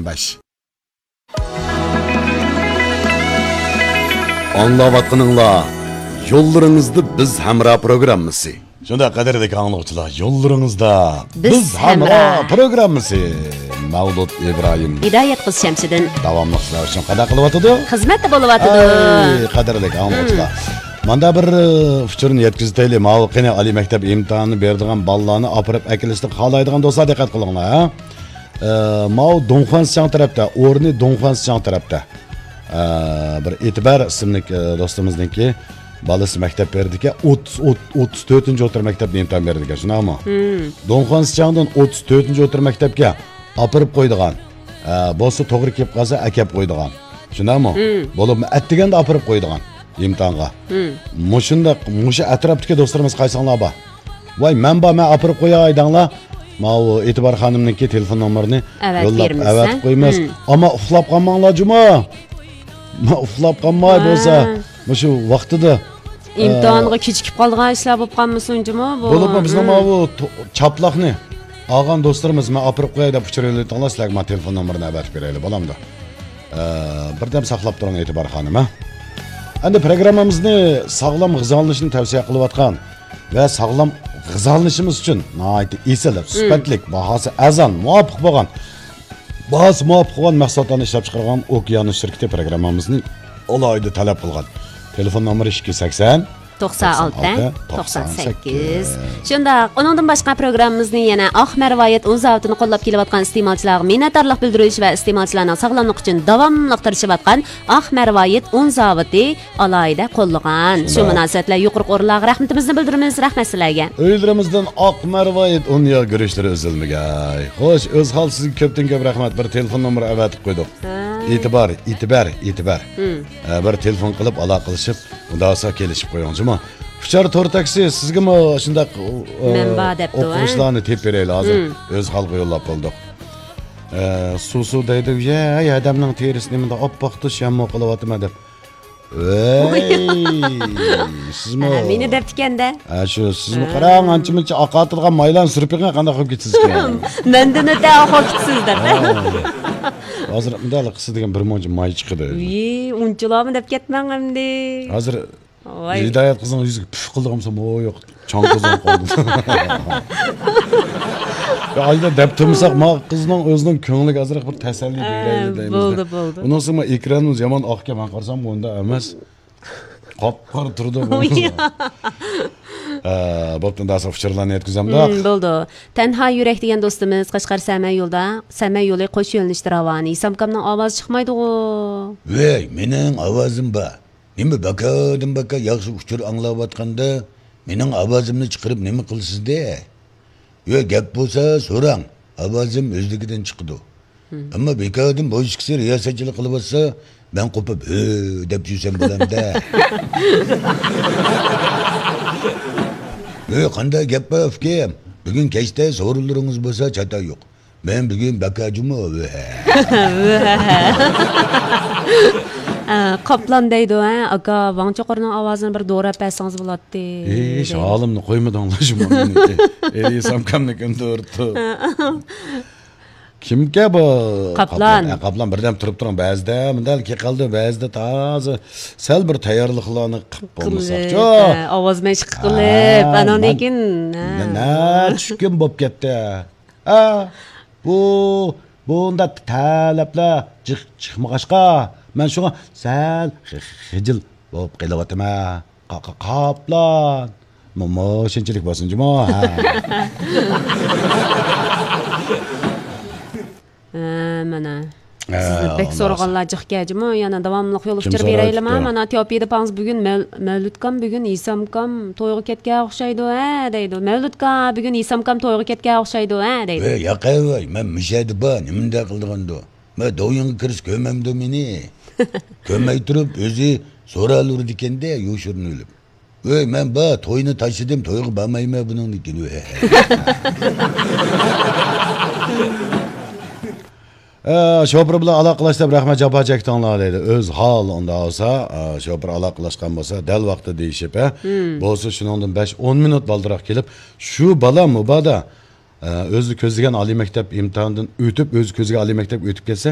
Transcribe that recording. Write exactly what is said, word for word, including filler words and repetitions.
بەش. ئاڭلاۋاتقىنىڭلار يوللىرىڭىزدا بىز ھەمراھ پروگراممىسى. شۇنداق، قەدىرلىك ئاڭلىغۇچىلار، يوللىرىڭىزدا بىز بىز ھەمراھ ھەمراھ. پروگراممىسى. مەۋلۇت ئىبراھىم. ھىدايەت قىز شەمشىدىن. داۋاملىق سىلەر ئۈچۈن قانداق قىلىۋاتىدۇ؟ خىزمەتتە بولۇۋاتىدۇ. ئەي، قەدىرلىك ئاڭلىغۇچىلار. مم. ماندا بىر، ئى، ئۇچۇرنى يەتكۈزۈۋېتەيلى. ماۋۇ قېنى ئالىي مەكتەپ ئىمتىھانىنى بېرىدىغان بالىلارنى ئاپىرىپ ئەكېلىشنى خالايدىغان دوستلار دىققەت قىلىڭلار، ھە. ئى، ماۋۇ دۇڭخۇەن سىچاڭ تەرەپتە، ئورنى دۇڭخۇەن سىچاڭ تەرەپتە. ئە، بىر ئېتىبار ئىسىملىك، ئە، دوستىمىزنىڭكى بالىسى مەكتەپ بېرىدىكەن، ئوتتۇز، ئوت-، ئوتتۇز تۆتىنچى ئوتتۇرا مەكتەپتە ئىمتىھان بېرىدىكەن، شۇنداقمۇ؟ مم. دۇڭخۇەن سىچاڭدىن ئوتتۇز تۆتىنچى ئوتتۇرا مەكتەپكە ئاپىرىپ قويىدىغان. ئە، بولسا توغرا كېلىپ قالسا ئەكەپ قويىدىغان. شۇنداقمۇ؟ مم. بولۇپمۇ ئەتىگەندە ئاپىرىپ قويىدىغان ئىمتىھانغا. مم. مۇشۇنداق، مۇشۇ ئەتراپتىكى دوستلىرىمىز قايسىڭلار بار؟ ۋاي، مەن بار، مەن ئاپىرىپ قوياي دەڭلار. ماۋۇ ئېتىبار خانىمنىڭكى تېلېفون نومۇرىنى ئەۋەتىپ يوللاپ بېرىمىز، ئەۋەتىپ ھە؟ قويىمىز. مم. ئەمما ئۇخلاپ قالماڭلار جۇمۇ. ما ئۇخلاپ قالماي ھە. بولسا، مۇشۇ ۋاقتىدا، ئىمتىھانغا ئە، كېچىكىپ قالىدىغان ئىشلار بولۇپ قالمىسۇن جۇمۇ بۇ. بولۇپمۇ بىزنىڭ مم. ماۋۇ تو-، چاپلاقنى ئالغان دوستلىرىمىز، مەن ئاپىرىپ قوياي دەپ ئۇچۇر يوللىتىڭلار، سىلەرگە مەن تېلېفون نومۇرىنى ئەۋەتىپ بېرەيلى، بولامدۇ؟ ئە، بىردەم ساقلاپ تۇرۇڭ، ئېتىبار خانىم، ھە؟ ئەمدى پروگراممىمىزنى ساغلام غىزالىنىشنى تەۋسىيە قىلىۋاتقان ۋە ساغلام غىزالىنىشىمىز ئۈچۈن ناھايىتى ئېسىل، مم. سۈپەتلىك، باھاسى ئەرزان، مۇۋاپىق بولغان، باھاسى مۇۋاپىق بولغان مەھسۇلاتلارنى ئىشلەپچىقارغان ئوكيانوس شىركىتى پروگراممىمىزنى ئالاھىدە تەلەپ قىلغان. تېلېفون نومۇرى ئىككى يۈز سەكسەن، توقسان ئالتە، توقسان سەككىز. توقسان سەككىز. شۇنداق، ئۇنىڭدىن باشقا پروگراممىمىزنى يەنە ئاق مەرۋايىت ئۇن زاۋۇتىنى قوللاپ كېلىۋاتقان ئىستېمالچىلارغا مىننەتدارلىق بىلدۈرۈش ۋە ئىستېمالچىلارنىڭ ساغلاملىقى ئۈچۈن داۋاملىق تىرىشىۋاتقان ئاق مەرۋايىت ئۇن زاۋۇتى ئالاھىدە قوللىغان. شۇ شۇنداق. مۇناسىۋەت بىلەن يۇقىرىقى ئورۇنلارغا رەھمىتىمىزنى بىلدۈرىمىز. رەھمەت سىلەرگە. ئۆيلىرىمىزدىن ئاق مەرۋايىت ئۇن ياغ گۈرۈچلىرى ئۈزۈلمىگەي. خوش، ئۆزھال، سىزگە كۆپتىن كۆپ رەھمەت. بىر تېلېفون نومۇرى ئەۋەتىپ قويدۇق. ھە. ئېتىبار، ئېتىبار، ئېتىبار. ھىم. ئە، بىر تېلېفون قىلىپ ئالاقىلىشىپ، ئۇنداق بولسا كېلىشىپ قويۇڭ جۇمۇ. ئۇچار تور تاكسى سىزگىمۇ شۇنداق، ئۇ، ئۇ، مەن بار دەپتۇ، ھە؟ ئوقۇغۇچىلارنى تېپىپ بېرەيلى ھازىر. ھىم. ئۆزھالغا يوللاپ بولدۇق. ئە، سۇ سۇ دەيدۇ، يە، ھەي، ئادەمنىڭ تېرىسى نېمىنداق ئاپئاق، تۇش ياممۇ قىلىۋاتىمەن دەپ. ۋەي، سىزمۇ. ھە، مېنى دەپتىكەن-دە. ھە، شۇ، سىزمۇ ھە. قاراڭ، ئانچە-مۇنچە ئاقارتىدىغان مايلارنى سۈرۈپ بېقىڭ، قانداق قىلىپ كېتىسىزكەن. مەندىن ئۆتە ئاقىرىپ كېتىسىز دەپ. ھە. ھازىر مۇنداق قىلسا دېگەن بىر مۇنچە ماي چىقىدۇ. ۋىي، ئۇنچىلارمۇ دەپ كەتمەڭ ئەمدى. ھازىر ۋاي. ھىدايەت قىزنىڭ يۈزىگە پۈف قىلدىغان بولسام، ھو، يوق. چاڭ قىزنىڭ قولىدا. يا، ئايدا دەپ تۇرمىساق، ما قىزنىڭ ئۆزىنىڭ كۆڭلىگە ئازراق بىر تەسەللى ھە، بېرەيلى دەيمىز. بولدى، بولدى. ئۇنىڭ ئۈستىگە ئېكرانىمىز يامان ئاقكەن، مەن قارىسام، ئۇنداق ئەمەس. قاپقارا تۇرىدۇ بۇ. ھە، بوپتۇ، ئۇنداق ئۇچۇرلارنى يەتكۈزەمدۇق. ھىم، بولدى. تەنھا يۈرەك دېگەن دوستىمىز قەشقەر سەمەي يولدا، سەمەي يولى قوش يۆنىلىشتە راۋان. ئىسامكامنىڭ ئاۋازى چىقمايدىغۇ. ۋەي، مېنىڭ ئاۋازىم بار. نېمە بەكەدىن بەكە ياخشى ئۇچۇر ئاڭلاۋاتقاندا مېنىڭ ئاۋازىمنى چىقىرىپ نېمە قىلىسىزدە؟ يا گەپ بولسا سوراڭ، ئاۋازىم ئۆزلۈكىدىن چىقىدۇ. ھىم. ئەمما بىكاردىن بوشىچكىسى رىياسەتچىلىك قىلىۋاتسا، مەن قوپۇپ ھۆ دەپ يۈرسەم بولامدە. ھۆ، قانداق گەپ بار ئۇكام؟ بۈگۈن كەچتە سورۇنلىرىڭىز بولسا چاتا يوق. مەن بۈگۈن بەكە جۇمۇ. ئە، قاپلان دەيدۇ، ھە، ئاكا، ۋاڭ چوقۇرنىڭ ئاۋازىنى بىر دوراپ بەرسىڭىز بولاتتى، ھېچ دەيدۇ. ھالىمنى قويمىدىڭلار شۇ ماڭا. ئېرى سامكامنى كۆندۈرۈپتۇ. كىمكە بۇ؟ قاپلان. قاپلان. ئە، قاپلان، بىردەم تۇرۇپ تۇرۇڭ. بەزىدە مۇنداق كېلىپ قالىدۇ، بەزىدە تازا سەل بىر تەييارلىقلارنى قىلىپ بولمىساقچۇ. قىلىپ، ھە، ئاۋاز مەشىق قىلىپ، ھە، ئاناندىن مەن كېيىن، ھە. نە، نە، چۈشكۈن بولۇپ كەتتى. ھە، بۇ، بۇنداق تەلەپلەر جىق چىقمىغاچقا، مەن شۇڭا سەل خى-، خىجىل بولۇپ قېلىۋاتىمەن. قا-، قا-، قاپلان. مۇ-، مۇشۇنچىلىك بولسۇن جۇمۇ. ھە. ھە، مانا. ھە، سىزنى بەك ئۇنداق سورىغانلار جىقكەن جۇمۇ. يەنە داۋاملىق يول ئۇچۇر بېرەيلىما؟ كىم سورايدۇ؟ مانا، تياۋپىيدا پاڭز بۈگۈن مەل-، مەۋلۇتكام بۈگۈن ھېسامكام تويغا كەتكەن ئوخشايدۇ، ھە، دەيدۇ. مەۋلۇتكا بۈگۈن ھېسامكام تويغا كەتكەن ئوخشايدۇ، ھە، دەيدۇ. ۋەي، ياقەي ۋەي، مەن مۇشۇ يەردە بار، نېمە مۇنداق قىلىدىغاندۇ؟ مەن دوۋيىنغا كىرسە كۆرمەمدۇ مېنى؟ كۆرمەي تۇرۇپ ئۆزى سورالىۋېرىدىكەن-دە، يوشۇرۇنۇۋېلىپ. ۋەي، مەن بار، توينى تاشلىدىم، تويغا بارمايمەن بۇنىڭدىن كېيىن. ئە، شوپۇر بىلەن ئالاقىلاشتۇرۇپ رەھمەت، جاپا چەكتىڭلار دەيدۇ. ئۆزھال ئۇنداق بولسا، ئە، شوپۇر ئالاقىلاشقان بولسا، دەل ۋاقتىدا دېيىشىپ، ھە؟ ھىم. بولسا شۇنىڭدىن بەش، ئون مىنۇت بالدۇرراق كېلىپ، شۇ بالا مۇبادا، ئە، ئۆزى كۆزلىگەن ئالىي مەكتەپ ئىمتىھانىدىن ئۆتۈپ، ئۆزى كۆزلىگەن ئالىي مەكتەپكە ئۆتۈپ كەتسە،